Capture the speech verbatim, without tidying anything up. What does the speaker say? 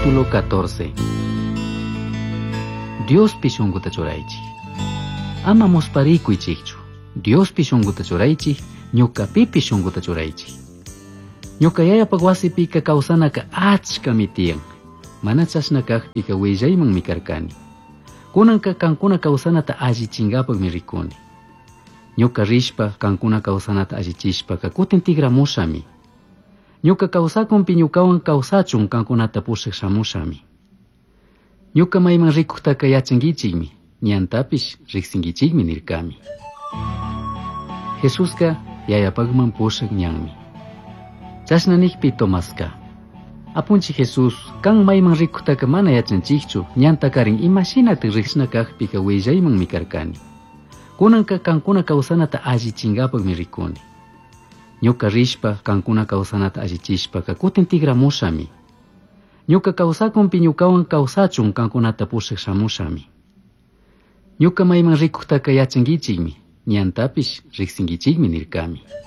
Capítulo catorce. Diospi shunkuta churaychik. Ama musparikuychikchu. Diospi shunkuta churaychik, ñukapipish shunkuta churaychik. Ñuka yayapaq wasipika kawsanaka achkami tiyan. Mana chashna kakpika willaymanmi karkani. Kunanka kankuna kawsanata allichinkapakmi rikuni. Ñuka rishpa kankuna kawsanata allichishpaka kutin tikramushami. Ñuka kawsakunpi ñukawan kawsachun kankunata pushak shamushami. Ñuka mayman rikuktaka yachankichikmi, ñantapish riksinkichikmi nirkami. Jesuska yayapakman pushak ñanmi. Chashna nikpi Tomaska: Apunchik Jesús, kan mayman rikuktaka mana yachanchikchu, ñantakarin imashinatik riksina kakpika willaymanmi karkani. Kunanka kankuna kawsanata allichinkapakmi rikuni. Ñuka rishpa kankuna kawsanata allichishpaka kutin tikramushami. Ñuka kawsakunpi ñukawan kawsachun kankunata pushak shamushami. Ñuka mayman rikuktaka yachankichikmi, ñantapish riksinkichikmi nirkami.